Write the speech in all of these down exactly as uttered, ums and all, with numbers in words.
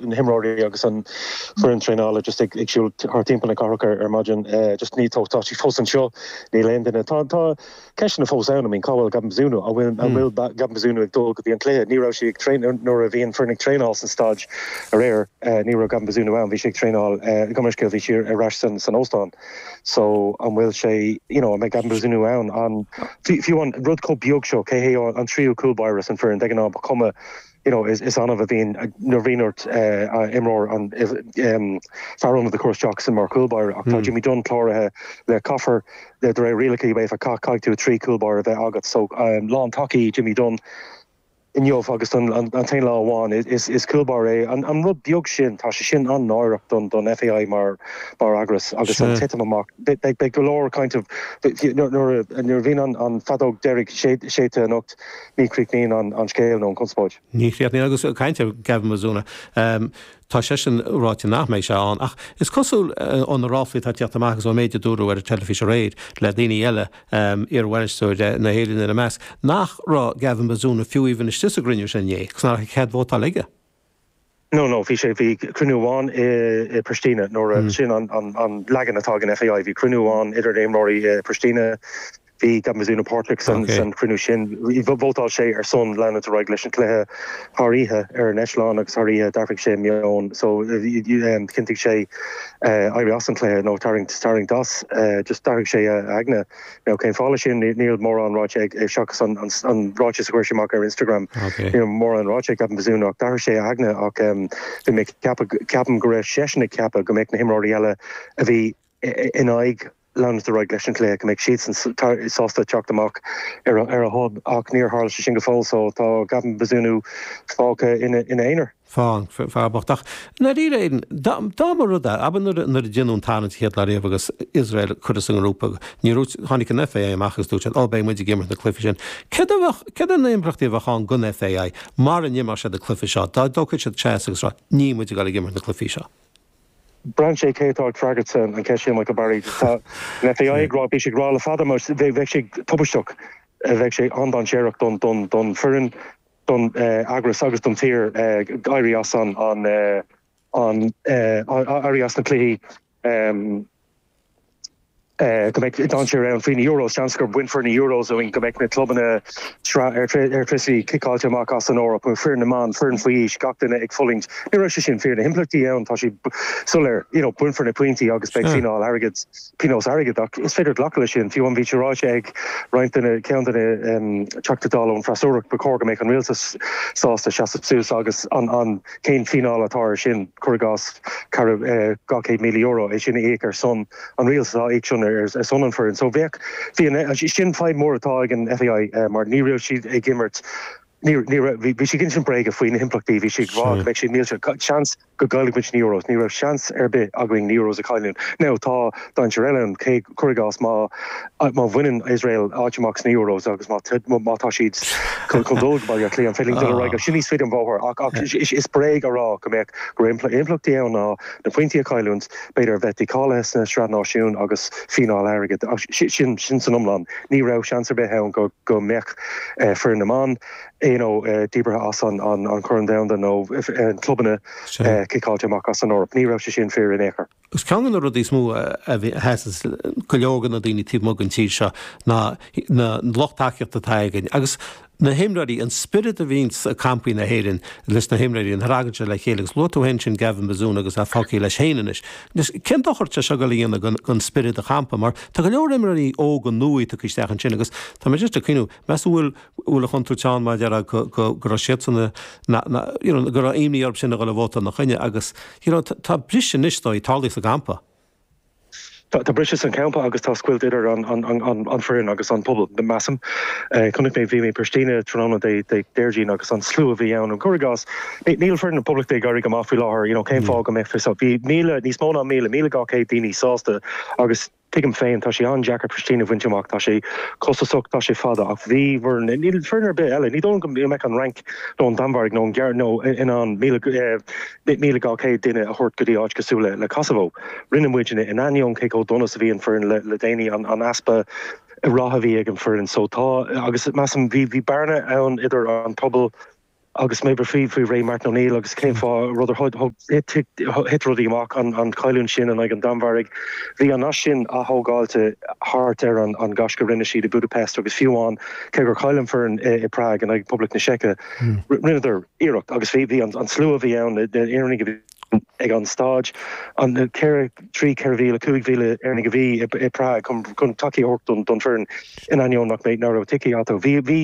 na himreoirí agus an foireann traenála just ag ag siúl thart timpeall na cathrach ar, ar maidin uh, just ní tá tá sí fós anseo níl aon duine tá tá ceisteanna fós ann I mean cá bhfuil Gavin Bazunu an bhfuil an bhfuil mm. Gavin Bazunu ag dul go dtí an cluiche ní raibh sé ag train nuair a bhí an foireann ag traenáil san staid aréir uh, ní raibh Gavin Bazunu ann bhí sé ag traenáil uh, gomscéal bhí sé ar ais san san óstán so an bhfuil sé you know, an mbeidh Gavin Bazunu ann an fiú an rud chomh beag seo cé hé an tríú cúl báire san foireann de ghnáth ba chuma you know, is, is annamh a bhíonn nuair bhíonn ort uh, imreoir an um, fear ionaid a chur isteach san mar chúl báire ach tá mm. Jimmy Dunne cláraithe le caithfear le de réir rialacha UEFA caithfidh tú trí chúl báire a bheith agat so um, lántacaí Jimmy Dunne inniu agus an, an, an t-aon lá amháin is, is cúl báire é an, an rud beag sin tá sé sin an-náireach don don FAI mar mar eagras agus an titim amach beidh go leor kind of nuair nuair bhíonn an, an feadóg deiridh séidte anocht ní chríochnaíonn an, an scéal nó an conspóid. Ní chríochnaíonn agus caint ar Gavin Bazunu. Um, tá sé sin ráite nach mbeidh sé ann ach is cosúil uh, ó na ráflaí atá ag teacht amach agus ón méid a dúradh ar an teilifís aréir le daoine eile um, iarbhainisteoir na hÉireann ina measc nach raibh Gavin Bazunu fiú amháin istigh sa gcruinniú sin inné, 'cos nach raibh cead vótáil aige. No no bhí sé bhí cruinniú amháin i, i Pristina nuair mm. sin an, an, an leagan atá ag an FAI bhí cruinniú amháin idir imreoirí i Pristina bhí Gavin Bazunu páirteach san okay. san cruinniú sin vótáil sé ar son leanúint ar aghaidh leis an cluiche thar oíche ar an eitleán agus thar oíche d'athraigh sé meon so um, chinntigh sé uh, éirí as an cluiche nó tarraingt tarraingt as uh, just d'athraigh sé a aigne nó cén fáth sin níl mórán ráite ag seachas an, an, an ráiteas a chuir sé amach ar Instagram okay. níl mórán ráite ag Gavin Bazunu ach d'athraigh sé a aigne ach um, bhí mé ceapaim go raibh seisean ag ceapadh go mbeadh na himreoirí eile a bhí in aghaidh leanúint ar aghaidh leis an cluiche go mbeadh siad sásta teacht amach ar ar a shon ach níor tharla sé sin go fóill so tá Gavin Bazunu fágtha ina ina aonar. Fán fearbochtach. Dáiríre dá mba rud é ab nuair a déanadh an tarraingt chéad lá riamh agus Iosrael curtha sa ngrúpa ní tháinig an FAI amach agus dúirt ó beidh muid ag imirt na cluichí sin. Cé na himpleachtaí a bheadh ann don FAI mar an imreoidh siad na cluichí seo, dá dtógfadh siad seasamh agus rá níl muid ag imirt na cluichí seo. Braitheann sé cé atá ag freagairt an cheist sin Michael Barry tá an FAI ag rá bhí sé ag rá le fada mar bheadh sé tubaisteach bheadh sé an-dainséarach don don don foireann don eagras agus don tír éirí as an an an éirí as na cluichí go mbeidh dainséar ann faoi na Euros seans gur bainfear na Euros ó go mbeidh na clubanna ar Airtricity ciceáilte amach as an Eoraip foireann na mban foireann faoi aois gach duine ag fulaingt. Ní raibh sé sin fíor na himpleachtaí ann tá sé soiléir you know, bainfear na pointí agus beidh fíneáil airgid pionós airgid ach is féidir glacadh leis sin fiú an bhí sé ráite ag roinnt duine ceann duine um, Teachta Dála ón freasúra ba chóir go mbeadh an rialtas sásta seasamh suas agus an an cén fíneáil atá ar sin cuir i gcás eh, dhá chéad míle euro é sin a íoc ar son an rialtas á íoc sin ar ar son an foireann. So bheadh bhí sin fadhb mór atá ag an FAI uh, mar ní raibh siad ag imirt bhí sé sin bréige faoi na himpleachtaí bhí sé rá go mbeidh sé millteach seans go gcaillfidh muid na Euros, ní raibh seans ar bith againn na Euros a chailliúint. Now tá dainséar eile ann cé cuir i gcás má má bhaineann Israel áit amach sna Euros agus má má tá siad chun dul go Baile Átha Cliath an féidir dul ar aghaidh sin níos faide an bóthar ach ach is bréag a rá go mbeadh go impleachtaí ann ná na pointí a chailliúint b'fhéidir bheith dícháilithe sna sraith náisiún agus fíneáil airgid sin sin san iomlán ní raibh seans ar bith ann go go mbeadh uh, foireann na mban you know, uh, díbeartha as an an, an Chorn Domhanda nó uh, clubanna uh, ciceáilte amach as an Eoraip. Ní raibh sé sin fíor in aon chor. Is ceann de na rudaí is mó a sheas go leor na daoine taobh amuigh den tír seo ná na lucht tacaíochta atá againn. Agus na himreoirí an spiorad a bhíonn i gcampaí na hÉireann leis na himreoirí an ragan se le chéile agus luaigh tú féin sin Gavin Bazunu agus a fágtha leis féin anois. Cén dochar atá sé seo le dhéanamh don spiorad a champa mar tá go leor imreoirí óga nua tagtha isteach ansin agus tá mé just ag cuimhneamh meas bhfuil bhfuil a chontúirt ann mar deara go go raibh siad san go raibh imní orthu sin a dhul a vótáil ina choinne agus tá briseadh anois dó tarlaithe sa gcampa. Tá briseadh san campa agus tá scoilt idir an, an, an, an, an foireann agus an pobal de measaim. Uh, Chonaic mé bhí mé Pristina tráthnóna de de Déardaoin agus an slua a bhí ann an cuir i gcás. Níl foireann na Poblachta ag éirí go maith faoi láthair, you know, cén fáth go mbeadh fi bhí míle níos mó ná míle míle dhá chéad daoine sásta agus tuigim féin tá sé an-deacair Pristina a bhaint amach tá sé costasach tá sé fada ach bhí níl foireann ar bith eile ní dóigh go mbeadh an Fhrainc nó an Danmhairg nó an Ghearmáin nó in ann míle míle dhá chéad duine a thabhairt go dtí áit cosúil le le Kosovo. Rinne muidne in ainneoin cé chomh dona is a bhí an foireann le, le déanaí an, an easpa ratha a bhí ag an foireann so tá agus measaim bhí bhí bearna ann idir an pobal Agus mé faoi faoi ré Martin O'Neill agus cén fáth rud thit rudaí amach an an chailliúint sin in aghaidh an Danmhairg. Bhí an nasc sin atógáilte thart ar an an gaisce rinne siad i Budapest agus fiú amháin cé gur chaill an foireann i Prague in aghaidh Poblacht na Seice. Rinneadar iarracht agus bhí bhí an an slua bhí ann Éireannaigh a bhí ag an staid an ceithre trí ceithre mhíle cúig mhíle Éireannaigh a bhí i Prague chun chun tacaíocht don don foireann in ainneoin nach mbeidh ná raibh ticéid acu. Bhí bhí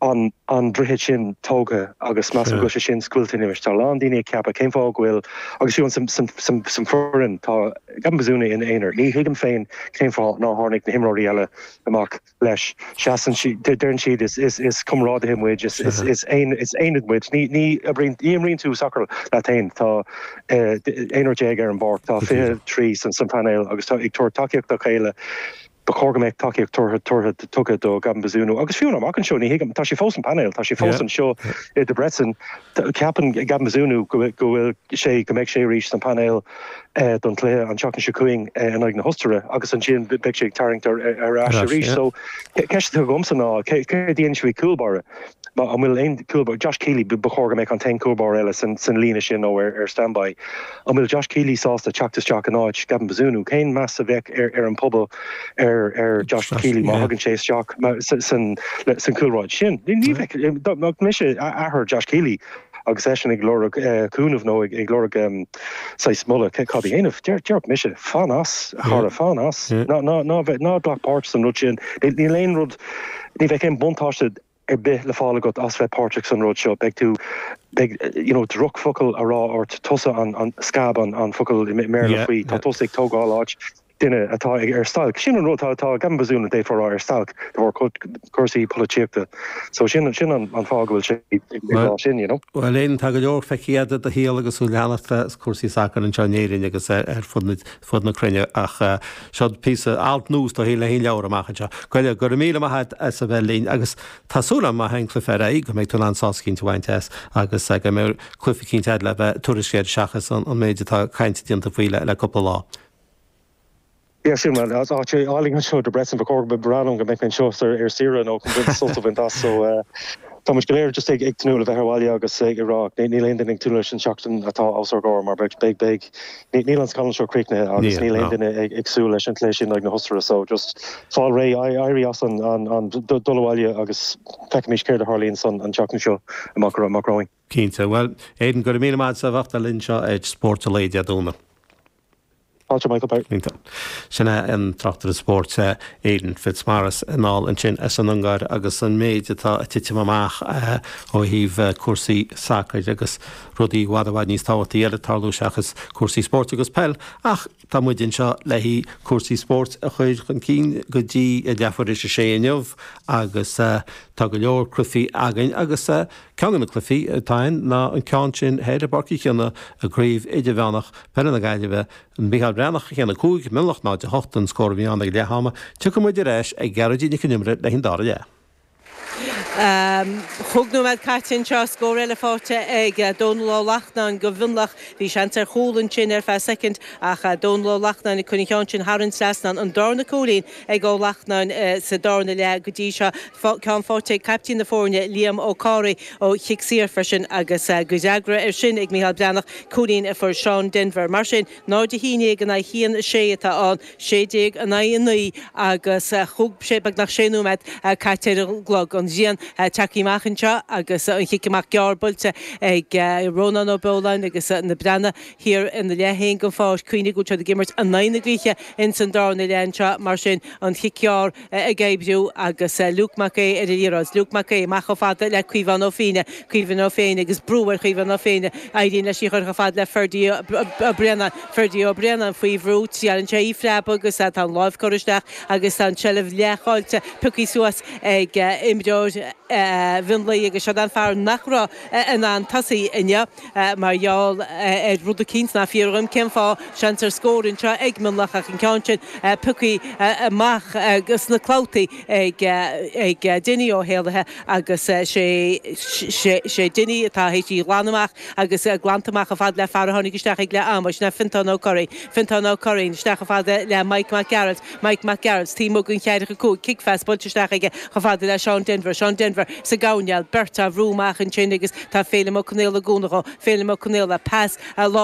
an an droichead sin tógtha agus measaim go bhfuil sé sin scaoilte anois. Tá lán daoine ag ceapadh cén fáth go bhfuil agus fiú san san san san foireann tá Gavin Bazunu ina aonar. Ní thuigim féin cén fáth nár tháinig na himreoirí eile amach leis. Seasann si deireann siad is is is comrádaithe muid is is is aon is aonad muid. Ní ní ní imríonn tú sacar leat féin tá aonrar déag ar an bpáirc tá fiche trí san san painéal agus tá ag tabhairt tacaíocht dá chéile. Ba chóir go mbeadh tacaíocht tuartha tuartha tugtha do Gavin Bazunu agus fiú amach anseo ní thuigim tá sé fós an painéal tá sé fós anseo i Debrecen ceapann Gavin Bazunu go go bhfuil sé go mbeidh sé arís san painéal eh, don chluiche an tseachtain seo chugainn eh, in aghaidh na hOstaire agus ansin beidh sé ag tarraingt ar ar ais arís so ceist agamsa ná cé dhéanfaidh sé cúl báire Ma an bhfuil aon cúl Josh Keeley ba chóir go mbeadh an t-aon cúl báire eile san san líne sin nó ar ar standby. An bhfuil Josh Keeley sásta teacht isteach in áit Gavin Bazunu cén meas a bheadh ar ar an pobal ar ar Josh Keeley má thagann sé isteach san san cúlráid sin. Ní bheadh mise athair Josh Keeley agus eisean ag lorg cúnamh nó ag lorg saghas moladh cad a dhéanamh deir mise fan as chara fan as ná ná ná ná glac páirt san rud sin níl aon rud ní bheidh aon buntáiste ar bith le fáil agat as bheith páirteach san rud seo beidh tú beidh you know drochfhocal á rá ort tusa an an scab an an focal i mBéarla faoi tá tusa ag tógáil áit duine atá ag ar stailc sin an rud tá tá Gavin Bazunu dé rá ar stailc de bharr cúrsaí polaitíochta so sin sin an an fáth go bhfuil sé ag sin you know Well aon tá go leor feicthe i do shaol agus tú leanacht cúrsaí sacair anseo in Éirinn agus ar fud fud na cruinne ach seo píosa alt nua do shaol le haon leabhar amach anseo. Goile go raibh míle maith as a bheith linn agus tá súil agam má an cluiche ar aghaidh go mbeidh tú an sás cinnte bhaint as agus go mbeidh cluiche cinnte le bheith tuairisc seachas an méid atá caint déanta faoi le le cúpla lá. Ja sin man as áit álainn anseo Debrecen ba chóir breán go mbeidh anseo ar ar saoire nó chun sult as so Tá muid go léir just ag ag tnúth le bheith abhaile agus ag rá níl aon duine ag tnúth leis an seachtain atá os ár gcomhair mar beidh beidh beidh níl an scannán seo críochnaithe agus níl aon duine ag ag súil leis an cluiche sin ag na hOstaire so just fáil réidh éirí as an an an dul abhaile agus feicfimid céard a tharlaíonn san an tseachtain seo amach amach romhainn. Cinnte, well Aidan go raibh míle maith as a bheith linn anseo ag Spórt an Lae Dé Domhnaigh. Fáilte Michael Bart. Sin é an tráchtaire spóirt Aidan Fitzmaurice anall ansin as an Ungáir agus an méid atá ag titim amach ó thaobh cúrsaí sacair agus rudaí i bhfad i bhfad níos tábhachtaí eile ag tarlú seachas cúrsaí spóirt agus peil ach tá muid anseo le cúrsaí spóirt a chur chun cinn go dtí a leathuair tar éis a sé inniu agus tá go leor cluichí againn agus ceann de na cluichí atá ann ná an ceann sin thoir i bPáirc Uí Chionnaith i gCraobh Idirmheánach Peile na Gaillimhe an Micheál Breathnach a haon a cúig Mionlach náid a hocht an scór a bhí ann ag leath ama, tiocfaidh muid ar ais ag Gearóidín Nic an Iomaire le an dara leath. Cúig nóiméad caite anseo scór eile faighte ag Dónal Ó Lachtnáin do Mhionlach bhí seans ar chúl ansin ar feadh soicind ach Dónal Ó Lachtnáin ag cur an cheann sin thar an trasnán an darna cúilín ag Ó Lachtnáin sa darna leath go dtí seo ceann faighte ag caiptín na foirne Liam Ó Cáraí ó chic saor freisin agus go fhreagra ar sin ag Micheál Breathnach cúilín a fuair Seán Denver. Mar sin náid a haon déag in aghaidh haon sé atá ann sé déag in aghaidh a naoi agus chúig sé beagnach sé nóiméad caite ar an gclog an ghrian tagtha amach anseo agus an chic amach gearr buailte ag Rónán Ó Beoláin agus na Breathnaigh thiar ina leath féin den pháirc cuimhnigh go bhfuil siad ag imirt in aghaidh na gaoithe ins an darna leath anseo mar sin an chic gearr ag oibriú agus Luke Mac Aodha ar an liathróid Luke Mac Aodha amach chomh fada le Caomhán Ó Féinne Caomhán Ó Féinne agus brú ar Chaomhán Ó Féinne éiríonn leis í chur chomh fada le Ferdy Ó Braonáin Ferdy Ó Braonáin faoi bhrú triaileann sé í a phreabadh agus tá an lámh curtha isteach agus tá an tseilbh leathchaillte pioctha suas ag imreoir Mhionlaigh agus seo an fear nach raibh in ann tosaí inniu mar gheall ar rud eicínt nach fíor dom cén fáth seans ar scór anseo ag Mionlach ach an ceann sin pioctha amach sna clabhtaí ag ag Dinny Ó hÉalaithe agus sé sé Dinny atá théis í ghlan amach agus glanta amach chomh fada le fear a tháinig isteach ag leath ama sin Fintán Ó Curraoin Fintán Ó Curraoin isteach chomh fada le Mike Mac Gearailt Mike Mac Gearailt taobh amuigh den cheathracha cúig kick phas buailte isteach aige chomh fada le Seán Denver Seán Denver Gallagher sa gcoirnéal, beirt á bhrú amach ansin agus tá Féilim Ó Conaola ag gúnadh dhó, Féilim Ó Conaola, pas